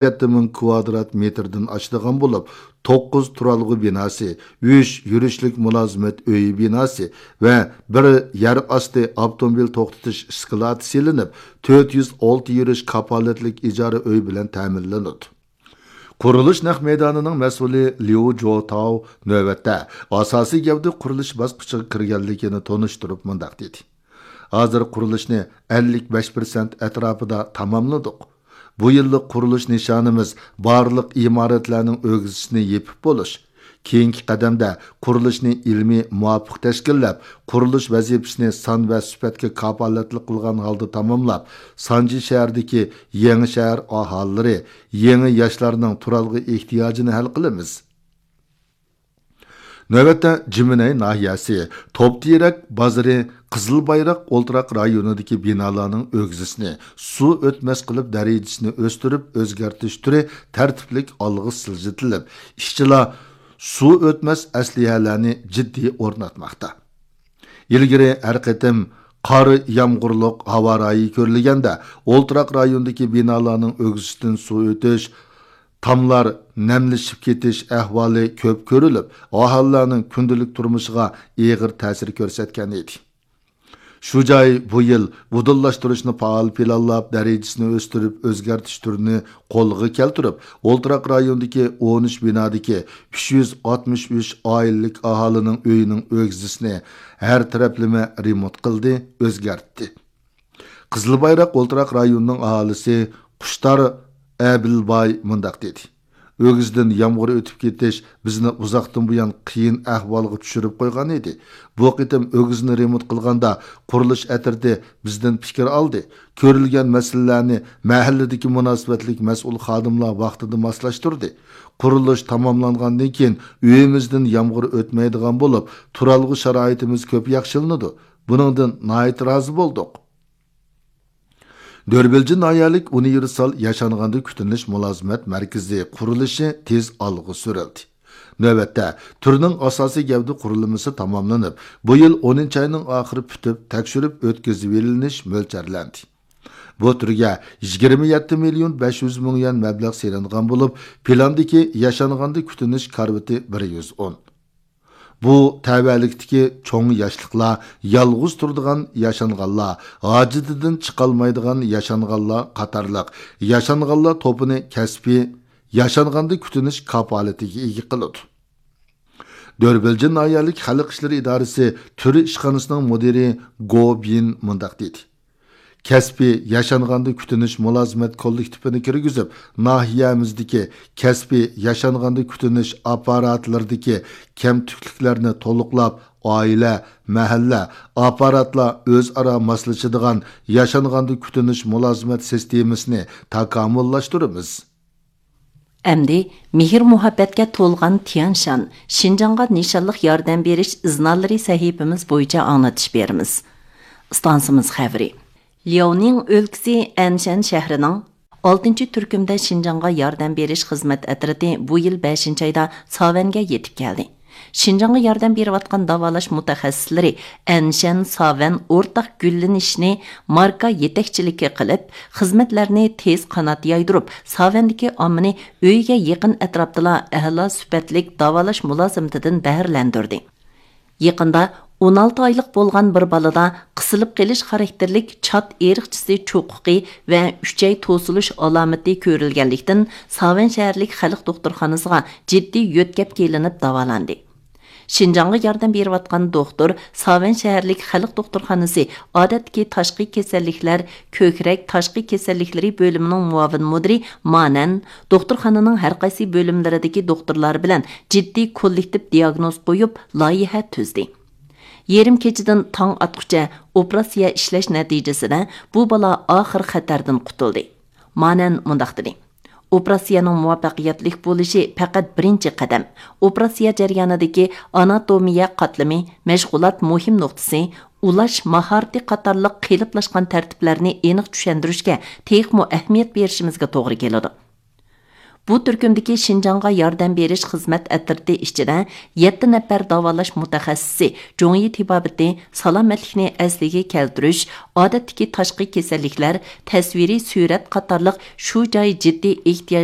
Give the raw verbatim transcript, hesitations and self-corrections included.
يەتتە مىڭ كۋادرات مېتىردىن ئاشىدىغان بولۇپ، توققۇز تۇرالغۇ بىناسى، ئۈچ يۈرۈشلۈك مۇلازىمەت ئۆيى بىناسى ۋە بىر يەر ئاستى ئاپتوموبىل توختىتىش ئىسكىلاتى سېلىنىپ، تۆت يۈز ئالتە يۈرۈش كاپالەتلىك ئىجارە ئۆي بىلەن تەمىنلىنىدۇ. قۇرۇلۇش نەق مەيدانىنىڭ مەسئۇلى ليۇ جوتاۋ نۆۋەتتە ئاساسىي گەۋدە قۇرۇلۇش باسقۇچىغا كىرگەنلىكىنى تونۇشتۇرۇپ مۇنداق دېدى: ھازىر قۇرۇلۇشنى ئەللىك بەش پىرسەنت ئەتراپىدا تاماملىدۇق. بۇ يىللىق قۇرۇلۇش نىشانىمىز بارلىق ئىمارەتلەرنىڭ ئۆگزىسىنى يېپىپ بولۇش. كېيىنكى قەدەمدە قۇرۇلۇشنى ئىلمىي مۇۋاپىق تەشكىللەپ، قۇرۇلۇش ۋەزىپىسىنى سان ۋە سۈپەتكە كاپالەتلىك قىلغان ھالدا تاماملاپ، سانجى شەھىرىدىكى يېڭى شەھەر ئاھالىلىرى، يېڭى ياشلارنىڭ تۇرالغۇ ئېھتىياجىنى ھەل قىلىمىز. نۆۋەتتە جىمىنەي ناھىيەسى توپتېرەك بازىرى قىزىل بايراق ئولتۇراق رايونىدىكى بىنالارنىڭ ئۆگزىسىنى سۇ ئۆتمەس قىلىپ دەرىجىسىنى ئۆستۈرۈپ ئۆزگەرتىش تۈرى تەرتىپلىك ئالغا سىلجىتىلىپ، ئىشچىلار سۇ ئۆتمەس ئەسلىھەلەرنى جىددىي ئورناتماقتا. ئىلگىرى ھەر قېتىم قار يامغۇرلۇق ھاۋا رايى كۆرۈلگەندە، ئولتۇراق رايوندىكى بىنالارنىڭ ئۆگزىسىدىن سۇ ئۆتۈش، تاملار نەملىشىپ كېتىش ئەھۋالى كۆپ كۆرۈلۈپ، ئاھالىلەرنىڭ كۈندىلىك تۇرمۇشىغا ئېغىر تەسىر كۆرسەتكەن ئىدى. شۇ جاي بۇ يىل ئۇدۇللاشتۇرۇشنى پائال پىلانلاپ، دەرىجىسىنى ئۆستۈرۈپ، ئۆزگەرتىش تۈرىنى قولغا كەلتۈرۈپ، ئولتۇراق رايوندىكى ئون ئۈچ بىنادىكى ئۈچ يۈز ئاتمىش ئۈچ ئائىلىلىك ئاھالىنىڭ ئۆيىنىڭ ئۆگزىسىنى ھەر تەرەپلىمە رېمونت قىلدى، ئۆزگەرتتى. قىزىل بايراق ئولتۇراق رايونىنىڭ ئاھالىسى قۇشتار ئەبىلباي مۇنداق دېدى: ئۆگزىدىن يامغۇر ئۆتۈپ كېتىش بىزنى ئۇزاقتىن بۇيان قىيىن ئەھۋالغا چۈشۈرۈپ قويغان ئىدى. بۇ قېتىم ئۆگزىنى رېمونت قىلغاندا، قۇرۇلۇش ئەترىتى بىزدىن پىكىر ئالدى. كۆرۈلگەن مەسىلىلەرنى مەھەللىدىكى مۇناسىۋەتلىك مەسئۇل خادىملار ۋاقتىدا ماسلاشتۇردى. قۇرۇلۇش تاماملانغاندىن كېيىن، ئۆيىمىزدىن يامغۇر ئۆتمەيدىغان بولۇپ، تۇرالغۇ شارائىتىمىز كۆپ ياخشىلىنىدۇ. بۇنىڭدىن ناھايىتى رازى بولدۇق. دۆربىلجى ناھىيەلىك ئۇنىۋېرسال ياشانغاندا كۈتۈنۈش مۇلازىمەت مەركىزى قۇرۇلۇشى تېز ئالغا سۈرۈلدى. نۆۋەتتە، تۈرنىڭ ئاساسىي گەۋدە قۇرۇلمىسى تاماملىنىپ، بۇ يىل ئونىنچى ئاينىڭ ئاخىرى پۈتۈپ، تەكشۈرۈپ ئۆتكۈزۈۋېلىنىش مۆلچەرلەندى. بۇ تۈرگە يىگىرمە يەتتە مىليون بەش يۈز مىڭ يۈەن مەبلەغ سېلىنغان بولۇپ، پىلاندىكى ياشانغاندا كۈتۈنۈش كارىۋىتى بىر يۈز ئون. بۇ تەۋەلىكتىكى چوڭ ياشلىقلار، يالغۇز تۇرىدىغان ياشانغانلار، ھاجىتىدىن چىقالمايدىغان ياشانغانلار قاتارلىق ياشانغانلار توپىنى كەسپىي ياشانغاندا كۈتۈنۈش كاپالىتىگە ئىگە قىلىدۇ. دۆربىلجى ناھىيەلىك خەلق ئىشلىرى ئىدارىسى تۈر ئىشخانىسىنىڭ مۇدىرى گو بىن مۇنداق دېدى: كەسپىي ياشانغاندا كۈتۈنۈش مۇلازىمەت كوللېكتىپىنى كىرگۈزۈپ، ناھىيەمىزدىكى كەسپىي ياشانغاندا كۈتۈنۈش ئاپپاراتلىرىدىكى كەمتۈكلۈكلەرنى تولۇقلاپ، ئائىلە، مەھەللە، ئاپپاراتلار ئۆزئارا ماسلىشىدىغان ياشانغاندا كۈتۈنۈش مۇلازىمەت سىستېمىسىنى تاكامۇللاشتۇرىمىز. ئەمدى مېھىر-مۇھەببەتكە تولغان تيەنشان، شىنجاڭغا نىشانلىق ياردەم بېرىش ئىزنالىرى سەھىپىمىز بويىچە ئاڭلىتىش بېرىمىز. ئىستانسىمىز خەۋىرى. لياۋنىڭ ئۆلكىسى ئەنشەن شەھىرىنىڭ ئالتىنچى تۈركۈمدە شىنجاڭغا ياردەم بېرىش خىزمەت ئەترىتى بۇ يىل بەشىنچى ئايدا ساۋەنگە يېتىپ كەلدى. شىنجاڭغا ياردەم بېرىۋاتقان داۋالاش مۇتەخەسسىسلىرى ئەنشەن، ساۋەن ئورتاق گۈللىنىشنى ماركا يېتەكچىلىكى قىلىپ، خىزمەتلەرنى تېز قانات يايدۇرۇپ، ساۋەندىكى ئاممىنى ئۆيىگە يېقىن ئەتراپتىلا ئەلا سۈپەتلىك داۋالاش مۇلازىمىتىدىن بەھرىلەندۈردى. يېقىندا ئون ئالتە ئايلىق بولغان بىر بالىدا قىسىلىپ قېلىش خاراكتېرلىك چات ئېرىقچىسى چوقۇقى ۋە ئۈچەي توسۇلۇش ئالامىتى كۆرۈلگەنلىكتىن، ساۋەن شەھەرلىك خەلق دوختۇرخانىسىغا جىددىي يۆتكەپ كېلىنىپ داۋالاندى. شىنجاڭغا ياردەم بېرىۋاتقان دوختۇر ساۋەن شەھەرلىك خەلق دوختۇرخانىسى ئادەتتىكى تاشقى كېسەللىكلەر، كۆكرەك، تاشقى كېسەللىكلىرى بۆلۈمىنىڭ مۇئاۋىن مۇدىرى مانەن دوختۇرخانىنىڭ ھەرقايسى بۆلۈملىرىدىكى دوختۇرلار بىلەن جىددىي كوللېكتىپ دىياگنوز قويۇپ، لايىھە تۈزدى. يېرىم كېچىدىن تاڭ ئاتقۇچە ئوپېراتسىيە ئىشلەش نەتىجىسىدە بۇ بالا ئاخىر خەتەردىن قۇتۇلدى. مانەن مۇنداق دېدى: ئوپېراتسىيەنىڭ مۇۋەپپەقىيەتلىك بولۇشى پەقەت بىرىنچى قەدەم. ئوپېراتسىيە جەريانىدىكى ئاناتومىيە قاتلىمى، مەشغۇلات مۇھىم نۇقتىسى، ئۇلاش ماھارىتى قاتارلىق قېلىپلاشقان تەرتىپلەرنى ئېنىق چۈشەندۈرۈشكە تېخىمۇ ئەھمىيەت بېرىشىمىزگە توغرا كېلىدۇ. بۇ تۈركۈمدىكى شىنجاڭغا ياردەم بېرىش خىزمەت ئەترىتى ئىچىدە يەتتە نەپەر داۋالاش مۇتەخەسسىسى جۇڭيى تېبابىتى، سالامەتلىكنى ئەسلىگە كەلتۈرۈش، ئادەتتىكى تاشقى كېسەللىكلەر، تەسۋىرىي سۈرەت قاتارلىق شۇ جاي جىددىي ئېھتىياجلىق